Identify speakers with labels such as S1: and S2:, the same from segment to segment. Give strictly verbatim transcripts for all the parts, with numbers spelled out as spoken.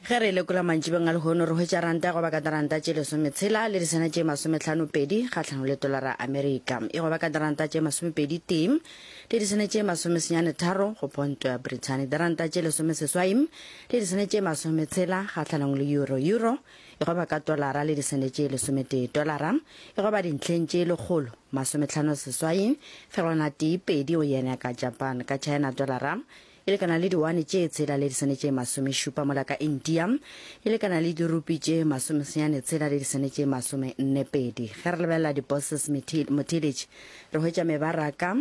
S1: Ge re lekola mantšibeng a lehono, re hwetša ranta e goba ka diranta tše lesometshela le disene tše masometlhanopedi kgahlanong le tolara Amerika. E goba ka diranta tše masomepedi tee le disene tše masomesenyane tharo go ponto ya Brithani. Diranta tše lesomeseswai le disene tše masometshela kgahlanong le euro. Euro e goba ka tolara le disene tše lesometee. Tolara e goba dintlheng tše lekgolo masometlhano seswai fegelwana tee pedi go yen ya ka Japan. Ka China tolara e lekana le diwane tše tshela le disene tše masomešupa, mola ka India e lekana le dirupi tše masomesenyane tshela le disene tše masomenne pedi. Ge re lebelela di-bosses motheeletši, re hwetša mebaraka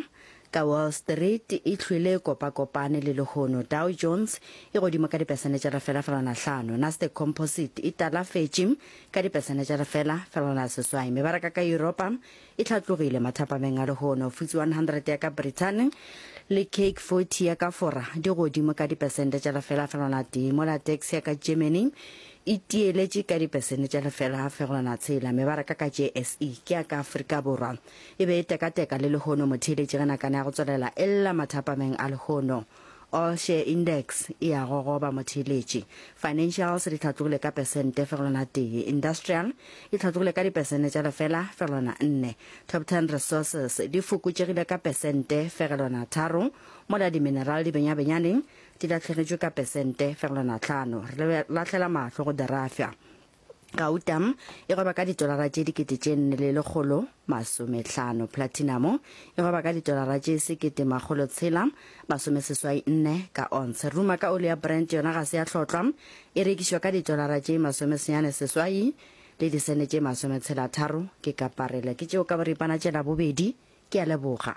S1: ka Wall Street e hlwele e kopakopane le lehono. Dow Jones e godimo ka dipesene tša lefela felwana hlano, Nasdaq Composite e talafetše ka dipesene tša lefela felwana seswai. Mebaraka ka Yuropa e hlatlogile mathapameng a lehono. F T S E one hundred ya ka Brithani le C A C forty ya ka Fora di godimo ka dipesente tša lefela felwana tee, mola DAX ya ka Germany e tieletše ka dipesente tša lefela fegelwana tshela. Mebaraka ka J S E ke ya ka Afrika Borwa e be e tekateka le lehono motheeletši ge nakana ya go tswelela e lla mathapameng a lehono. All Share Index e a gogoba motheeletši. Financials di hlatlogile ka pesente fegelwana tee. Industrial e hlatlogile ka dipesente tša lefela fegelwana nne. Top ten Resources di fokotšegile ka pesente fegelwana tharo, mola di-mineral di benyabenyane di lahlegetšwe ka pesente fegelwana hlano. Re lahlela mahlo go dirafya. Gauta e gweba ka ditolara tše dikete tše nne le lekgolo masomehlano. Platinamo e gweba ka ditolara tše sekete makgolo tshela masomeseswai nne ka ontshe. Ruma ka oli ya Brent yona ga se ya hlotlwa, e rekišwa ka ditolara tše masomesenyane seswai le disene tše masometshela tharo ke kaparele. Ke tšeo ka boripana tše Labobedi. Ke a leboga.